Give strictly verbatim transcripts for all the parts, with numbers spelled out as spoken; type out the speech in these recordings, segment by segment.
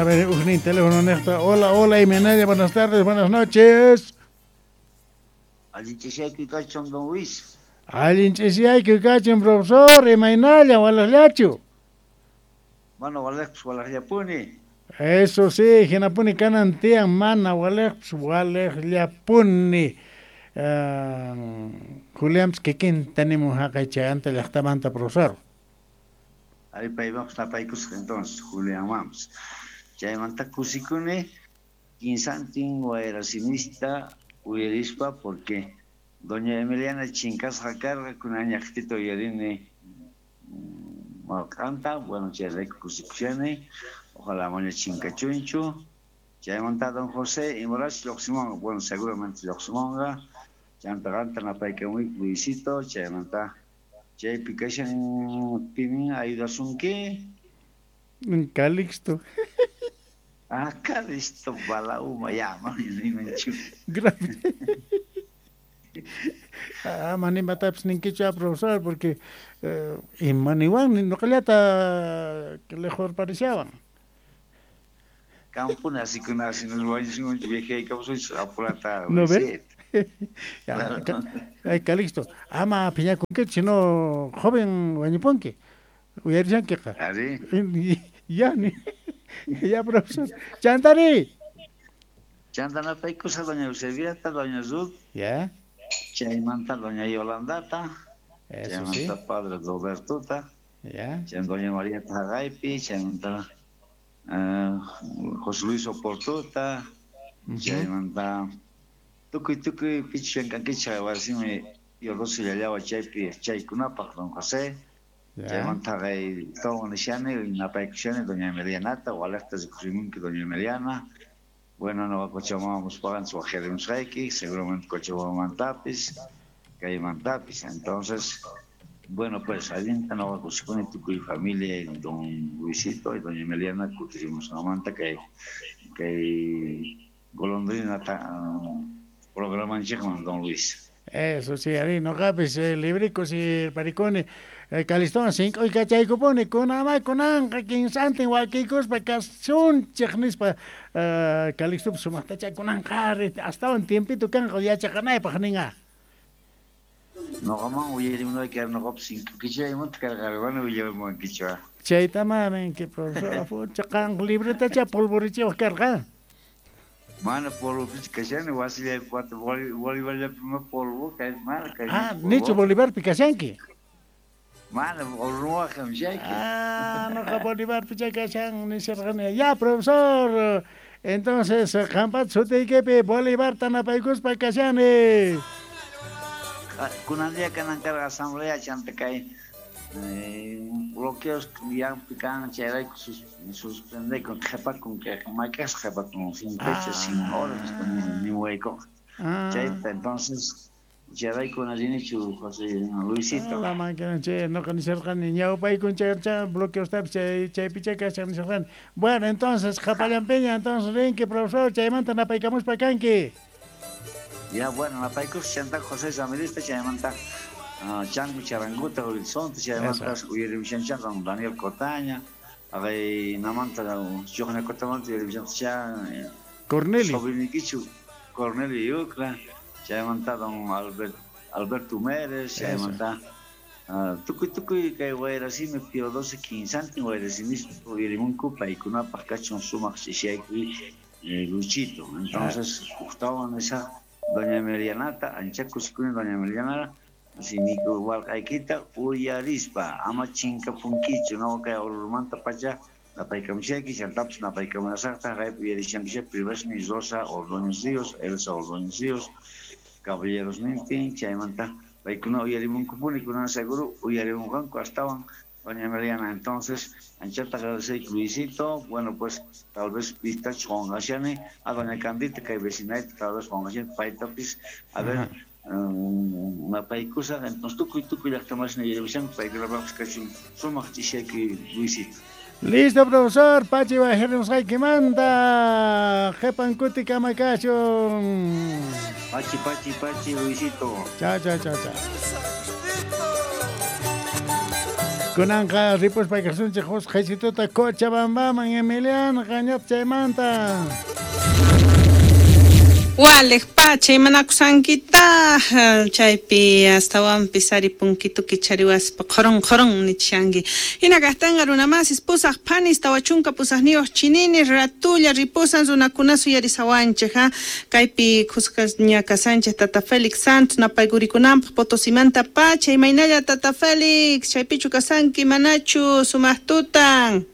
A ver, ujnin teléfono nesta. Hola, hola, Imenaya, buenas tardes, buenas noches. Allin ch'isiyayku kachun, don Luis. Allin ch'isiyayku kachun, profesor, imaynalla, walaqllachu. Mana walaqpis walaqllapuni. Eso sí, hinapuni kanan tiyan mana walaqpis walaqllapuni. Uh, Julián, kikinta nimun haqay chayanta llaqtamanta, profesor. Ari paymanpas napaykusqa entonces, Julianmanpas. Chaymanta kusikuni kinsantin wayrasimista uyarispa porque doña Emiliana chinkasqa karqa kunañaqtita uyarini marqanta, bueno, chayrayku kusikushani, ojalá mana chinkachunchu. Chaymanta don José imarash lluqsimunqa, bueno, seguramente lluqsimunqa. Chanta qanta napaykamuyku Luisito, chaymanta chaypi kashan pimin ayudasunki. Calixto. Ah, Calixto balauma ya, mani nimanchu. Grave. Ah, mani matapis ninkichu, profesor, porque eh, imaniwan nuqallata lejorparishawan. Kampuna asikuna nos wañusunchik viejaykamusunchik apurata. ¿No ve? Ya, ay, Calixto, ama phiñakunkichu, sino joven wañupunki. Uyarishankiqa. Ari. Ya, ni. Ya, profesor. Chantari. Chanta napaykusa doña Eusebiata, doña Ruth. Ya. Chaymanta doña Yolandata. Eso chaymanta sí. Padre Robertota. Ya. Chaymanta doña María Tagaypi, chaymanta uh, José Luis Oportuta. Uh -huh. Chaymanta tukuy tukuy pichankankicha wasimi Yorosi llallawa chaypi chaykunapaq don José. Chaymanta kay todo nishani napaykushani doña Emilianata, walaqta rikusimunki doña Emiliana. Bueno, no Cochabamba pagan su wajarimusqayki, seguramente Cochabambamantapis, kaymantapis. Entonces, bueno, pues allinta noqa kusikuni tukuy familia don Luisito y doña Emiliana kutirimusqanmanta kay kay golondrina ta, programanchikman don Luis. Eso sí, ari noqapis eh, libricos y pariconi eh, Calistón cinco y cachaykupuni kunamay kunanqa kinsantin wakiykuspa kasunchik nispa uh, Calixtopis sumaqtacha kunanqa astawan tiempito kanqa yachaqanaypaq ninqa. Noqaman uyarimunayki noqapis cinco kichaymanta karqa willamuwankichu. Chaytama ninki profesor afucha qan libretacha polvorichiwaq karqa. Mana polvopis kashani wasillaypi wata Bolivarllapi polvo kay mana kay. Ah, nichu Bolivarpi kashanki. Mana urnuwaqam chayki. Ah, noqa Bolivarpi chay kashan nisharqani. Ya, profesor. Entonces, qampat sutiykipi Bolivarta napaykuspa kashani. Kunan día kanan karqa asamblea chanta kay eh, bloqueos yampi kan chayrayku suspendekun qhipakun kay mayk'asqa qhipakun sin fecha, sin horas niwaykuqa. Chayta entonces chayrayku rinichu José Luisito. La máquina chay noqa nisharqani ñawpaykun chay bloqueostapis chay chaypicha kashan nisharqani. Bueno, entonces qhapallanpiña entonces rinki profesor chaymanta napaykamuspa kanki. Ya, bueno, napaykus chanta José Ramirezta chaymanta Uh, Changu Charanguta, Horizonte, chaymanta uyarimushanchan don Daniel Cotaña, agay namanta Chuqna Cotamanta uyarimushancha Cornelio sobrinikichu Cornelio Yucra, chaymanta don Albert, Alberto Mérez, chaymanta uh, tukuy tukuy kay wayrasimi Pío doce kinsantin wayrasimis uyarimunku paykunapaq kachun sumaq ch'isiyaykuy eh, Luchito. Entonces, huktawan esa doña Emilianata, ancha kusikuni doña Emiliana, simiku walqaykita uyarispa ama chinkapunkichu no kay urmanta pacha napaykamushayki chantapis napaykamunasaqta haypi uyarishankisha privashni Rosa Ordóñez Ríos, Elsa Ordóñez Ríos, caballeros nintin chaymanta paykuna uyarimunkupuni kunan seguro uyarimunqanku astawan doña Emiliana. Entonces anchata agradeceyki Luisito, bueno pues tal vez pistach qunqashani a doña Candita kay vecinayta tal vez qunqashani paytapis a ver napaykusa entonces tukuy tukuy llaqtamasina yarimushanku paykunapaqpis kachun sumaq ch'isiyayki Luisito. Listo, profesor, pachi wajarimusqaykimanta qhipan kuti kama kachun. Pachi, pachi, pachi, Luisito. Chao, chao, chao, chao. Kunanqa ripuspa kasunchik husqaysituta Cochabambaman Emiliano qañat chaymanta. Waliq pacha imanakusankita chaypi astawanpis ari punkitu kichariwaspa qhoron qhoron nichanki hina kaqtanqa runamasis pusaq phanis tawa chunka pusaqniyuq chinini ratulla ripusan runakuna suyarisawanchik ha kaypi khusqaña kasanchik Tata Félix Santos napaykurikunampaq Potosimanta pacha imaynalla Tata Félix chaypichu kasanki manachu sumaq tutan.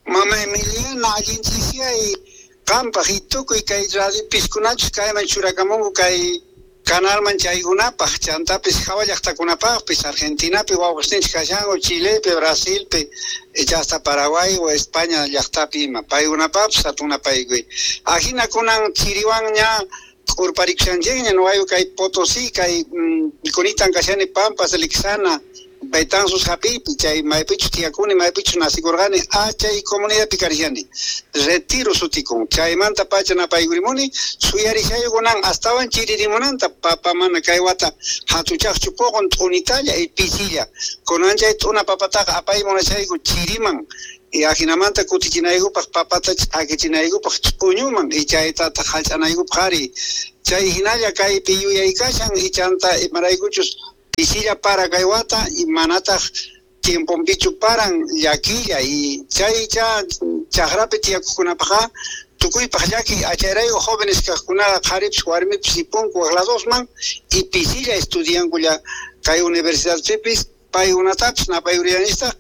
Mama Emiliana allinchisiay qampaq itukuy kay radio piskunachus kayman churakamunku kay kanalman chaykunapaq chantapis hawa llaqtakunapaqpis Argentinapi wawqisninchik kashanku Chilepi Brasilpi hasta Paraguay o España llaqtapi ima paykunapaqpis hatunapaykuy ajina kunan chiriwanña q'urparikushanchikña nuqayku kay Potosí kay kunitan kashani Pampas Lixana Betanzos hapipi chay maypichus tiyakuni maypichus nasikurqani a chay comunidadpi karishani Retiro sutikun chaymanta pacha napaykurimuni suyarishaykunan astawan chiririmunanta papa mana kay wata hatuchaqchu puqun t'unitalla y pisilla kunan chay t'una papataqa apaymunashayku chiriman y ajinamanta kutichinaykupaq papata ch'akichinaykupaq ch'uñuman y chaytataq hallch'anaykupaq ari chay hinalla kaypi yuyaykashan y chanta imaraykuchus pisilla para kay wata y manataq tiemponpichu paran llakilla y chay cha chaqrapi tiyakuqkunapaqqa tukuypaq llaki achayrayku jóvenes kaqkunaqa qharipis warmipis ripunku waq ladosman y pisilla estudiankulla kay universidadpipis paykunatapis napayuriyanistaq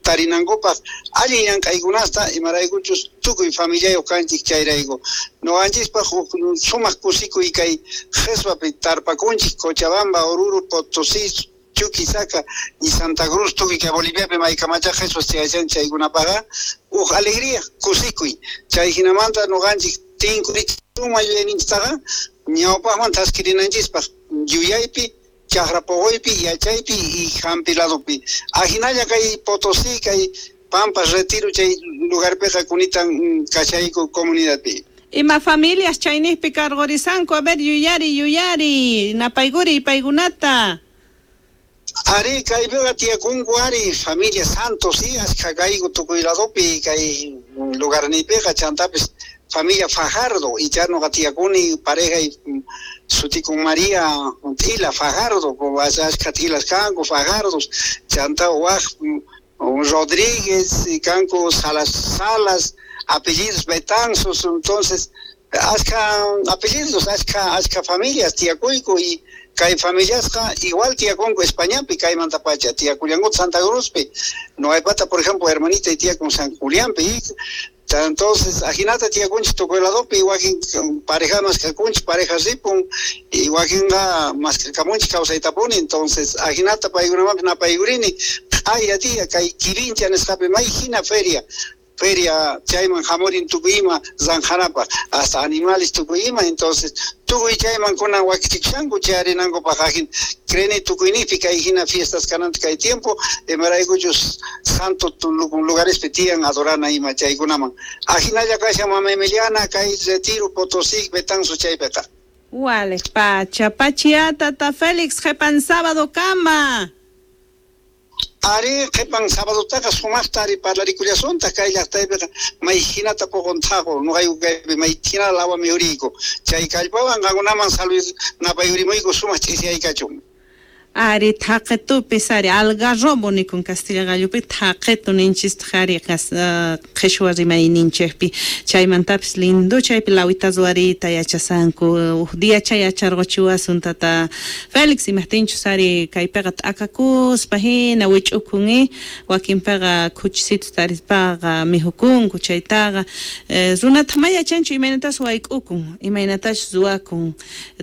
tarinankupaq allin llank'aykunasta imaraykuchus tukuy familiayuq kanchik chayrayku nuqanchispaq huk sumaq kusikuy kay qheswapi tarpakunchik Cochabamba, Oruro, Potosí, Chuquisaca y Santa Cruz tukuy kay Boliviapi maykamachaq qheswas chayachan chaykunapaqa huk alegría kusikuy chay hinamanta nuqanchik tinkurichuma yuyayninchiktaqa ñawpaqman thaskirinanchispaq yuyaypi chaqra poqoypi yachaypi y hampi ladopi ajinalla kay Potosí kay Pampas Retiro chay lugarpiqa kunitan kashayku comunidadpi. Ima familias chayniqpi karqurisanku a ver yuyari yuyari napaykuri paykunata. Ari kaypiqa tiyakunku ari familia Santos y ashka kayku tukuy ladopi kay lugarniypiqa chantapis familia Fajardo y ya nuqa tiyakuni pareja y sutikun María Tila Fajardo ashka tilas kanku Fajardos chanta waq Rodríguez y kanku Salas Salas apellidos Betanzos entonces ashka apellidos ashka ashka familias tiyakuyku y kay familiasqa igual tiyakunku Españapi kaymanta pacha tiyakullanku Santa Cruzpi nuqaypata por ejemplo hermanita y tiyakun San Julianpi y entonces ajinata tiyakunchik tukuy ladopi wakin pareja maskakunchik pareja ripun y wakinqa maskakamunchik kawsaytapuni entonces ajinata paykunamanpis napaykurini q'aya día kay Kirincha nisqapi may hina feria feria chayman hamurin tukuy ima zanjanapaq hasta animales tukuy ima entonces tukuy chayman kunan wakichikushanku chayarinankupaq ajin creni tukuynipi kay hina fiestas kananta kay tiempo imaraykuchus santo lugarespi tiyan adorana ima chaykunaman ajinalla kashan mama Emiliana kay Retiro Potosí Betanzos chaypiqa. Waliq pacha pachiya Tata Félix qhipan sábado kama. Ari qhipan sabadotaqa sumaqta ari parlarikullasuntaq kay llaqtaypiqa may hinata puqun thaqu nuqayku kaypi may hina lawa mihuriyku chay kallpawan qankunaman salud napayurimuyku sumaq ch'isiyaykachun. Ari thaqitupis ari algarrobo nikun Castilla gallupi thaqitu ninchistaq ari qhishwa rimayninchikpi chaymantapis lindo chaypi lawita ruwariyta yachasanku huk día chay yacharquchiwasun Tata Félix imaqtinchus ari kaypiqa t'akakuspa hina wich'ukun wakinpiqa khuchisitu tarispaqa mihukunku chaytaqa runata ma yachanchu imaynatas wayk'ukun imaynatachus ruwakun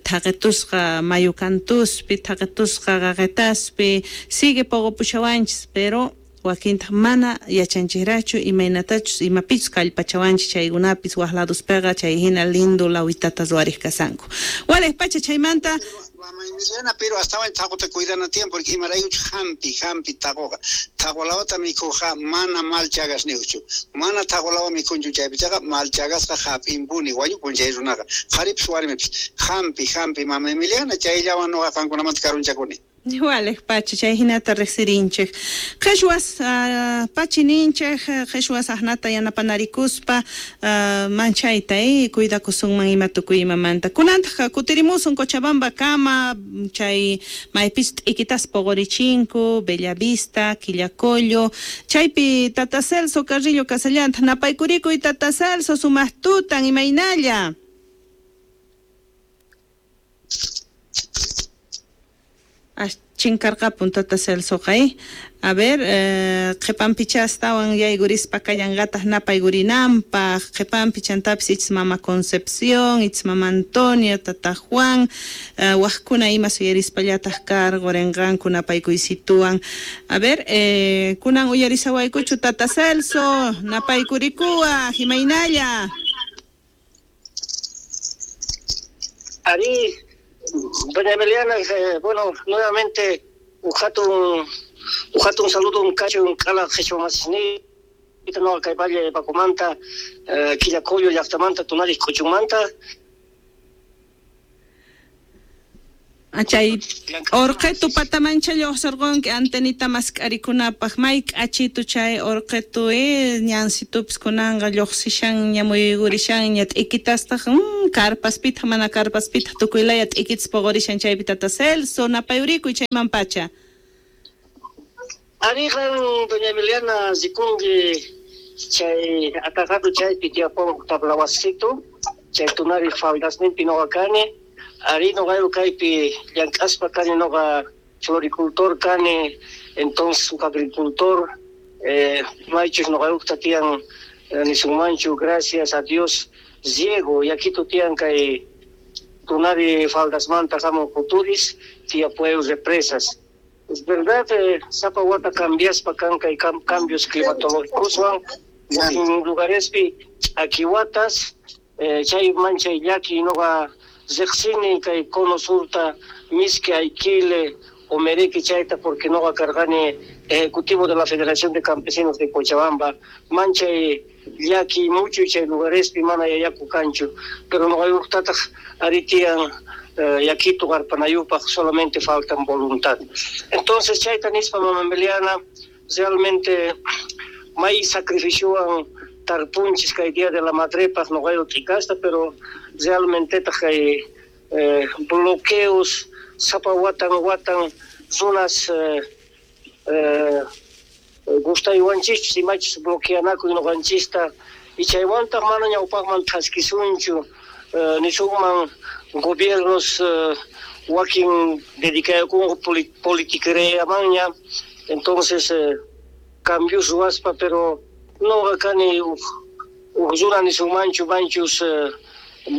thaqitusqa mayu kantuspi thaqitusqa qaqetaspi sigue poqopushawanchis pero wakintaq mana yachanchikrachu imaynatachus imapichus kallpachawanchis chaykunapis waq laduspiqa chay hina lindo lawitata ruwariq kasanku waliq pacha chaymanta. Mama Emiliana pero astawan thaquta cuidana tiyan porque imaraykuchu hampi hampi thaquqa thaqulawata mikhuqqa mana mal chagasniqchu mana thaqulawa mikhunchu chaypichaqa mal chagasqa hap'inpuni wañupun chay runaqa qharipis warmipis hampi hampi mama Emiliana chayllawan nuqa qankunamanta karunchakuni. Waleq pachi chay hinata riqsirinchik. Qhichwas uh, pachi ninchik, qhichwas aqnata yanapanarikuspa uh, manchayta eh, cuidakusunman ima tukuy imamanta. Kunantaq kutirimusun Cochabamba kama chay maypis t'ikitas poqorichinku, Bellavista, Quillacollo, chaypi Tata Celso Carrillo kasallanta napaykurikuy Tata Celso sumaq tutan imaynalla. Chinkarqapun Tata Celsoqa eh. A ver, eh, qhipanpicha astawan yaykurispa kallanqataq napaykurinanpaq, qhipanpi chantapis ich mama Concepción, ich mama Antonia, Tata Juan, eh, waqkuna ima suyarispallataq karqurinqanku napaykuysituwan. A ver, eh, kunan uyarisawaykuchu Tata Celso, napaykurikuwaq, imaynalla. Ari, doña Emiliana, eh, bueno, nuevamente, ujatun, ujatun saludo, un cacho, un cala, qhichwa masisniyta, no, kay Valle Pacomanta, eh, Quillacollo, llaqtamanta, Tunaris, K'uchunmanta. Chay orqetu patamancha lluqsirqunki antenita mask'arikunapaq may k'achitu chay orqetu eh, ñansitupis kunanqa lluqsishanña muyuykurishanña t'ikitastaj mm, karpaspitaq mana karpaspitaq tukuylaya t'ikitas puqurishan chaypi Tata Celso napayurikuy chayman pacha. Ariqan doña Emiliana rikunki chay atajatu chaypi tiyapun tablawasitu chay tunari faldasninpi nuqa kani. Ari noqa kaypi llank'aspa kani noqa floricultor kani, entonces un agricultor, eh, maychus noqayuqta tiyan eh, nisunmanchu, gracias a Dios, riego, yakitu tiyan kay tunari faldasmanta hamun kuturis, tiyapuew represas. Es verdad, eh, sapa wata cambiaspa kan kay cam cambios climatológicoswan, en lugarespi ch'akiwatas, eh, chay manchay llaki noqa riqsini kay cono surta miski aikile omereki chayta porque noqa karqani ejecutivo de la Federación de Campesinos de Cochabamba manchay llaki mucho chay lugarespi mana yayaku kanchu pero noqayuqtataq ari tiyan eh, yakitu qarpanayupaq solamente faltan voluntad. Entonces chayta nispa mama Emiliana realmente may sacrificiowan tarpunchis kay día de la madrepaq noqayu t'ikasta pero realmente kay eh, bloqueos sapa watan watan zonas eh, eh, gustaywanchis imachus bloqueanakuy noqanchista y chaywantaq mana ñawpaqman thaskisunchu eh, nisunman gobiernos eh, wakin dedicakunku politiquereamanña entonces eh, cambios ruwaspa pero noqa kani uj runa nisunmanchu manchus eh,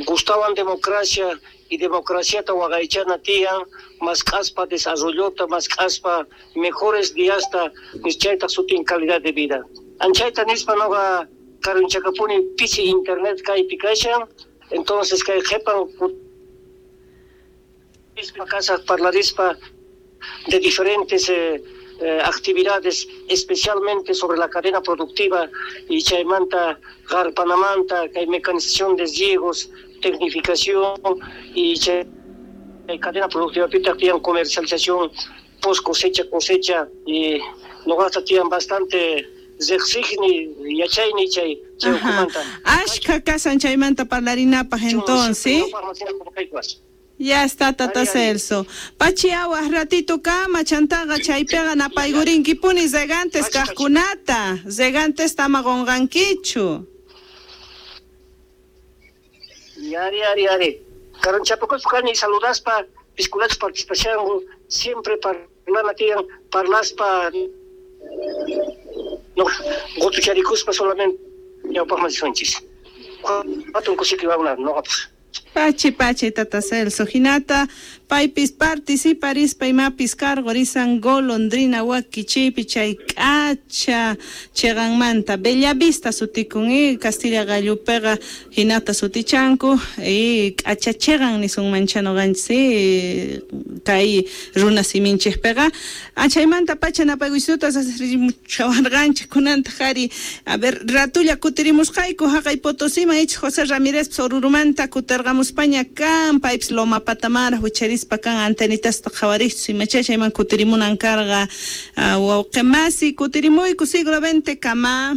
gustaban democracia y democraciata waqaychana tiyan mask'aspa desarrollota mask'aspa mejores diasta nischaytaq sutin calidad de vida. Anchayta nispa noqa karunchakapuni pisi internet kaypi kashan entonces kay qhipan kasaq parlarispa de diferentes eh, eh, actividades, especialmente sobre la cadena productiva y chaymanta, qarpanamanta, kay mecanización de riegos, tecnificación y chay cadena productiva pitaq tiyan comercialización post cosecha cosecha y noqata tiyan bastante riqsiqni yachayni chay chay ukhumanta. Ashka kasan chaymanta parlarinapaq entonces. Ya está Tata Celso. Pachiawas ratito kama chantaqa chaypiqa napaykurinki regantes kaqkunata, regantes tama qunqankichu. Yari yari yari. Karanchapakuspa kani saludaspa piskunachus participashanku siempre parlana tiyan parlaspa no qutucharikuspa solamente ñawpaqman risunchis. Hatun kusikuywan noqapaq. Pachi pachi Tata Celso hinata paypis participarispa imapis karqurisan golondrina wakichiypi chay k'acha chiqanmanta Bellavista sutikun eh, Castilla gallupiqa hinata sutichanku eh, k'acha chiqan nisunmancha nuqanchis eh, kay runa siminchikpiqa achaymanta pacha napaykuysituta sasrimuchawarqanchik kunantaq ari a ver ratulla kutirimusqayku haqay Potosíman ich José Ramírez Orurumanta kutirqamusqa. kutirimuspaña kan, paypis Loma Patamara wicharispa kan antenitasta qhawariqchus imacha chayman kutirimunan karqa. Uh, wawqi masi kutirimuyku siglo veinte kama.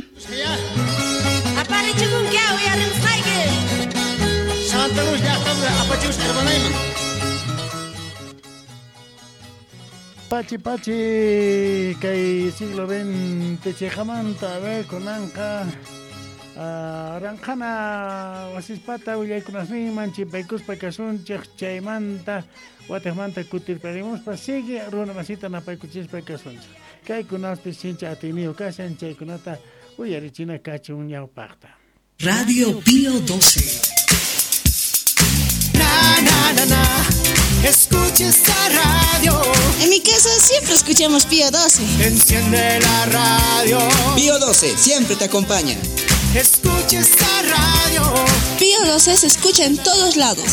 Santa Cruz llaqtamanta apachimus hermanayman. Pachi pachi kay siglo veinte chayqamanta a ver kunanqa ranqhana wasispata willaykunasninman chimpaykuspa kasunchik chaymanta watiqmanta kutirparimuspa sigue runa masita napaykuchispa kasunchik kaykunaspis sincha atiyniyuq kashan chaykunata uyarichina kachun ñawpaqta. Radio Pío doce. Na, na, na, na. Escucha esta radio. En mi casa siempre escuchamos Pío doce. Enciende la radio. Pío doce siempre te acompaña. Escucha esta radio. Pío doce se escucha en todos lados.